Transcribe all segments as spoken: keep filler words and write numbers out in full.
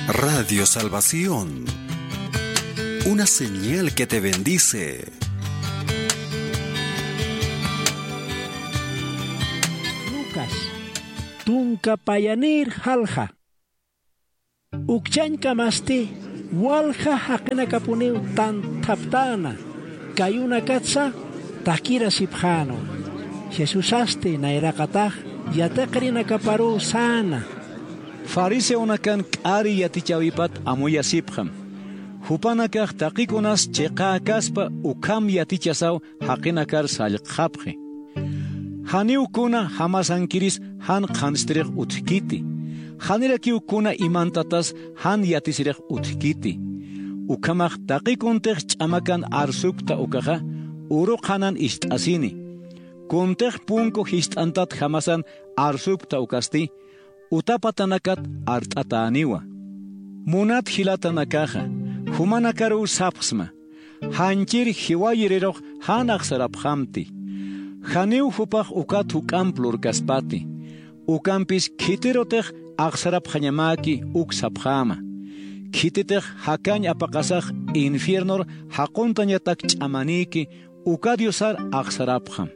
Radio Salvación, una señal que te bendice. Lucas, tunka payanïr jalja. Ukchañkamasti walja jaqinakapuniw tanthaptäna, kayunakatsa takirasipxänwa. Jesusasti nayraqatax yatiqirinakaparuw säna. Fariseonakan k'ari yatichäwipat amuyasipxam. Jupanakax taqikunas chiqäkaspa ukham yatichasaw jaqinakar sallqxapxi. Janiw kuna jamasankiris jan qhanstirix utjkiti. Janirakiw kuna imantatas jan yatisirix utjkiti. Ukhamax taqi kuntix ch'amakan arsupkta ukaxa, uru qhanan ist'asini. Kuntix punku jist'antat jamasan arsupkta ukasti, utapatanakat art'atäniwa. Munat jilatanakaxa, jumanakaruw sapxsma, janchir jiwayirirux jan axsarapxamti. Janiw jupax ukat juk'amp lurkaspati. Ukampis khitirutix axsarapxañamäki uk sapxäma. Khititix jakañ apaqasax infiernor jaquntañatak ch'amanïki uka Diosar axsarapxam.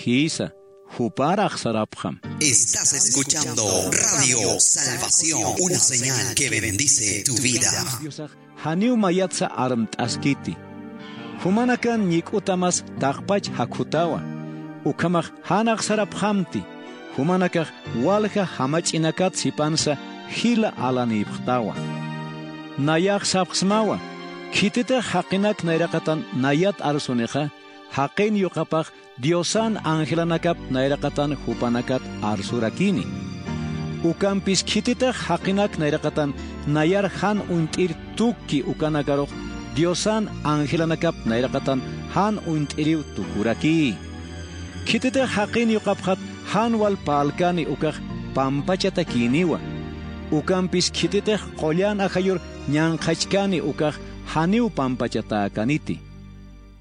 Jïsa, jupar axsarapxam. Estás escuchando Radio Salvación, una señal que bendice tu vida. Janiw mayatsa armt'askiti. Jumanakan ñik'utamas taqpach jakhutawa. Ukhamax jan axsarapxamti. Jumanakax walja jamach'inakat sipansa jila alanïpxtawa. Nayax sapxsmawa, khititix jaqinak nayraqatan nayat arsunixa, jaqin yuqapax Diosan angelanakap nayraqatan jupanakat arsurakini. Ukampis khititix jaqinak nayraqatan nayar jan uñt'ir tukki ukanakarux Diosan angelanakap nayraqatan jan uñt'iriw tukuraki. Khititix jaqin yuqapxat jan wal parlkani ukax pampachatakïniwa. Ukampis khititix qullan ajayur ñanqhachkani ukax janiw pampachatäkaniti.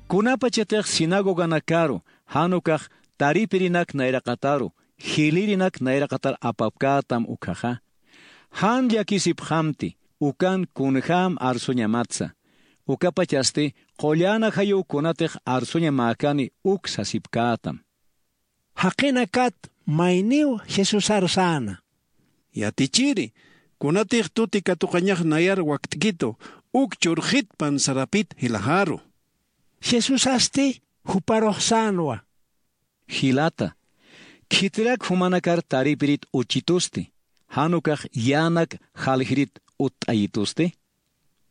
Kunapachatix sinagoganakaru jan ukax taripirinak nayraqataru, jilïrinak nayraqatar apapkätam ukhaxa. Jan llakisipxamti, ukan kunjäm arsuñamatsa. Ukapachasti qullan ajayuw kunatix arsuñamäkani uk sasipkätam. Jaqinakat mayniw Jesusar säna. Yatichiri, kunatix tuti katuqañax nayar wakt'kitu, uk churxit pansarapit jilaxaru. Jesusasti juparux sänwa. Jilata, khitirak jumanakar taripirit uchitusti, jan ukax yänak jaljirit utt'ayitusti.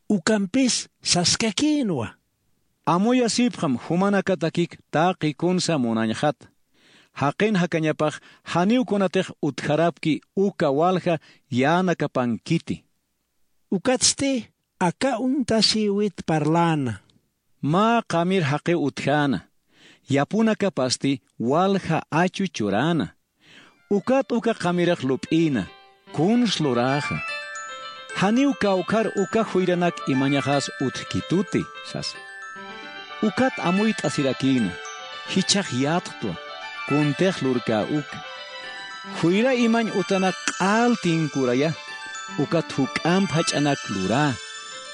Ukampis saskakïnwa. Amuyasipxam jumanakatakik taqi kunsa munañxat. Jaqin jakañapax janiw kunatix utjarapki uka walja yänakapankiti. Ukatsti aka uñtasïwit parläna. Mä qamir jaqiw utjäna. Yapunakapasti walja achu churäna. Ukat uka qamirix lup'ïna, kuns luräxa. Janiw kawkhar uka juyranak imañaxas utjkituti, sasa. Ukat amuyt'asirakïna, jichhax yatktwa, kuntix lurkä uka. Juyra imañ utanak q'al tinkuraya, ukat juk'amp jach'anak lurä.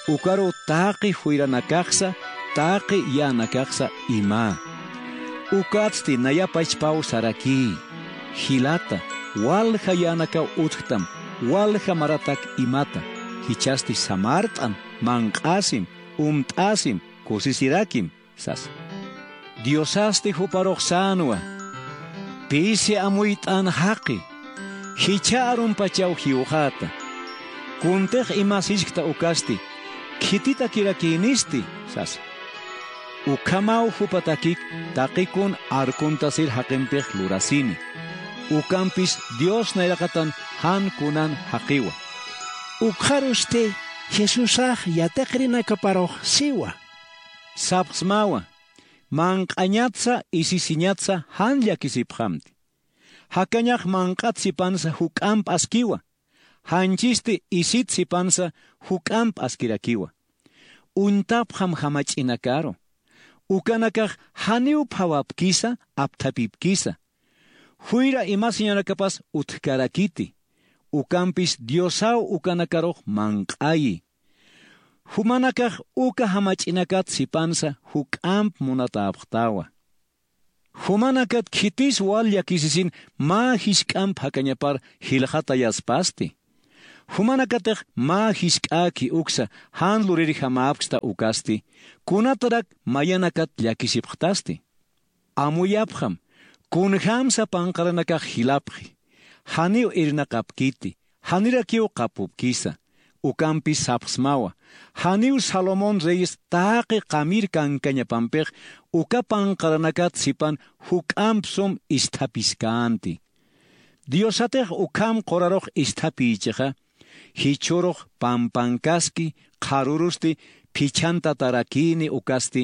Ukaruw taqi juyranakaxsa, taqi yänakaxsa imä. Ukatsti naya pachpaw sarakï. Jilata, walja yänakaw utjtam, walja maratak imata, jichhasti samart'am, manq'asim, umt'asim, kusisirakim, sasa. Diosasti juparux sänwa. Pisi amuyt'an jaqi, jichha arumpachaw jiwxäta. Kuntix imasiskta ukasti, khititakirakïnisti, sasa. Ukhamaw jupatakik taqi kun arkuntasir jaqimpix lurasini. Ukampis Dios nayraqatan jan kunan jaqiwa. Ukxarusti Jesusax yatiqirinakaparux siwa. Sapxsmawa, manq'añatsa isisiñatsa jan llakisipxamti. Jakañax manq'at sipansa juk'amp askiwa, janchisti isit sipansa juk'amp askirakiwa. Uñtapxam jamach'inakaru. Ukanakax janiw phawapkisa, apthapipkisa. Juyra imasiñanakapas utjkarakiti. Ukampis Diosaw ukanakarux manq'ayi. Jumanakax uka jamach'inakat sipansa juk'amp munatäpxtawa. Jumanakat khitis wal llakisisin mä jisk'amp jakañapar jilxatayaspasti. Jumanakatix mä jisk'äki uksa jan lurirjamäpksta ukasti, kunatarak mayanakat llakisipxtasti. Amuyapxam, kunjämsa panqaranakax jilapxi, janiw irnaqapkiti, janirakiw qapupkisa. Ukampis sapxsmawa, janiw Salomón reyis taqi qamir kankañapampix uka panqaranakat sipan juk'amp sum isthapiskänti. Diosatix ukham qurarux isthapïchixa, jichhürux pampankaski, qharürusti phichhantatarakïni ukasti,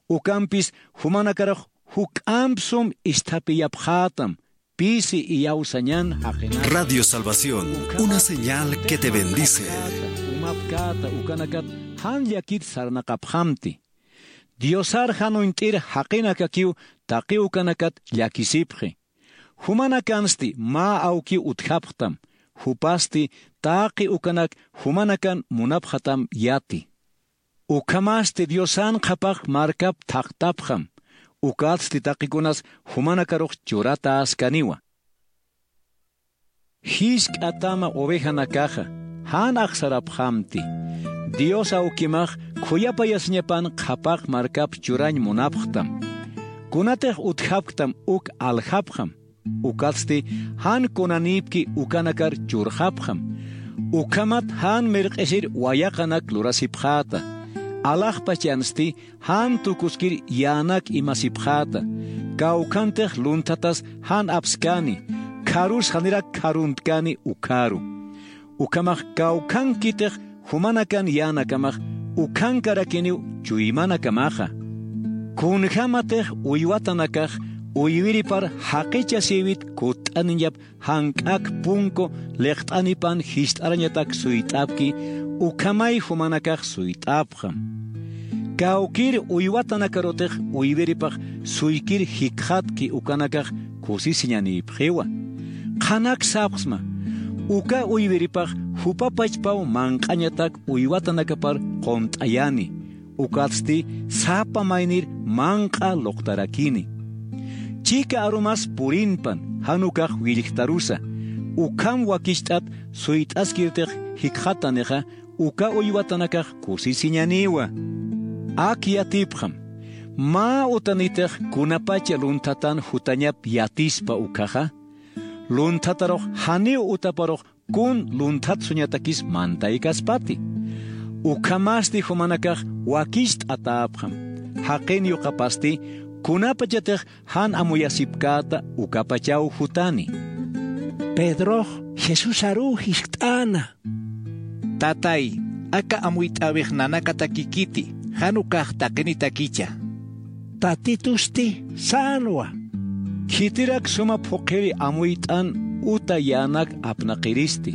ukampis jumanakarux juk'amp sum isthapiyapxätam, pisi iyawsañan jaqinaka. Radio Salvación, una señal que te bendice. Umapkäta ukanakat jan llakit sarnaqapxamti. Diosar jan uñt'ir jaqinakakiw taqi ukanakat llakisipxi. Jumanakansti mä awkiw utjapxtam, jupasti taqi ukanak jumanakan munapxatam yati. Ukhamasti Diosan qhapaq markap thaqtapxam, ukatsti taqikunas jumanakarux churatäskaniwa. Jisk'a tama ovejanakaxa jan axsarapxamti. Dios awkimax khuyapayasiñapan qhapaq markap churañ munapxtam. Kunatix utjapktam uk aljapxam. Ukatsti jan kunanïpki ukanakar churxapxam. Ukhamat jan mirq'isir wayaqanak lurasipxäta. Alaxpachansti jan tukuskir yänak imasipxäta. Kawkhantix lunthatas jan apskani, kharus janirak kharuntkani ukharu. Ukhamax kawkhankitix jumanakan yänakamax ukhankarakiniw chuymanakamaxa. Kunjämatix uywatanakax uywiripar jaqichasïwit kutt'aniñap jank'ak punku liqt'anipan jist'arañatak suyt'apki, ukhamay jumanakax suyt'apxam. Kawkïr uywatanakarutix uywiripax suykir jikxatki ukanakax kusisiñanïpxiwa. Qhanak sapxsma, uka uywiripax jupa pachpaw manq'añatak uywatanakapar qunt'ayani, ukatsti sapa maynir manq'a luqtarakini. Chika arumas purinpan jan ukax willjtarusa, ukham wakicht'at suyt'askirtix jikxatanixa uka uywatanakax kusisiñaniwa. Ak yatipxam, mä utanitix kunapacha lunthatan jutañap yatispa ukhaxa, lunthatarux janiw utaparux kun lunthatsuñatakis mantaykaspati. Ukhamasti jumanakax wakicht'atäpxam. Jaqin yuqapasti kunapachatix jan amuyasipkäta ukapachaw jutani. Pedrox Jesusaruw jiskt'äna. Tatay, aka amuyt'äwix nanakatakikiti, jan ukax taqinitakicha. Tatitusti sänwa. Khitirak suma phuqhiri amuyt'an uta yänak apnaqiristi.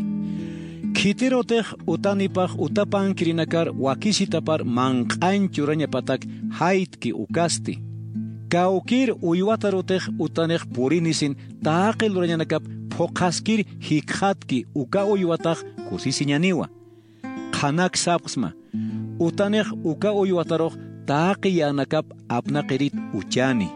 Khitirutix utanipax utapankirinakar wakisitapar manq'añ churañapatak jaytki ukasti. Kawkïr uywatarutix utanix purinisin taqi lurañanakap phuqhaskir jikxatki uka uywatax kusisiñaniwa. Qhanak sapxsma, utanix uka uywatarux taqi yänakap apnaqirit uchani.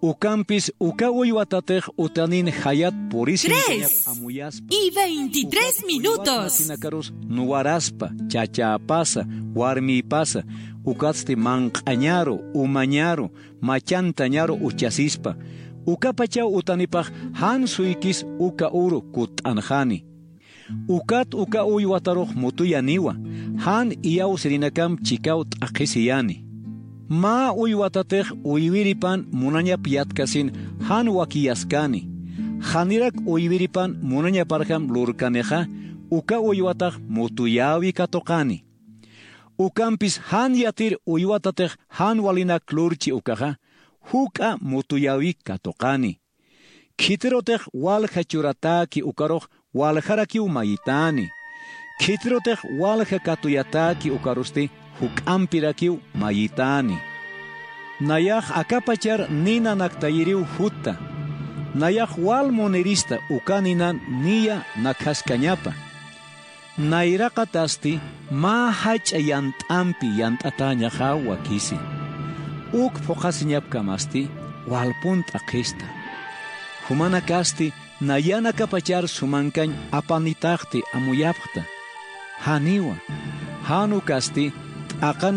Ukampis uka uywatatix utanin jayat purisinkañap amuyaspa. Y veintitrés minutos. Uka uywatanakarus nuwaraspa, chachäpasa, warmïpasa, ukatsti manq'añaru, umañaru, machantañaru uchasispa. Ukapachaw utanipax jan suykis uka uru kutt'anxani. Ukat uka uywatarux mutuyaniwa, jan iyawsirinakam chikaw t'aqhisiyani. Mä uywatatix uywiripan munañap yatkasin jan wakiyaskani. Janirak uywiripan munañaparjam lurkanixa, uka uywatax mutuyäwi katuqani. Ukampis jan yatir uywatatix jan walinak lurchi ukaxa, juk'a mutuyäwi katuqani. Khitirutix walja churatäki ukarux waljarakiw mayitäni. Khitirutix walja katuyatäki ukarusti juk'ampirakiw mayitäni. Nayax akapachar nina naktayiriw jutta. Nayax wal munirista uka ninan niya nakhaskañapa. Nayraqatasti mä jach'a yant'ampi yant'atäñaxaw wakisi. Uk phuqhasiñapkamasti walpun t'aqhista. Jumanakasti nayanakapachar sumankañ apanitaxti amuyapxta. Janiwa, jan ukasti t'aqan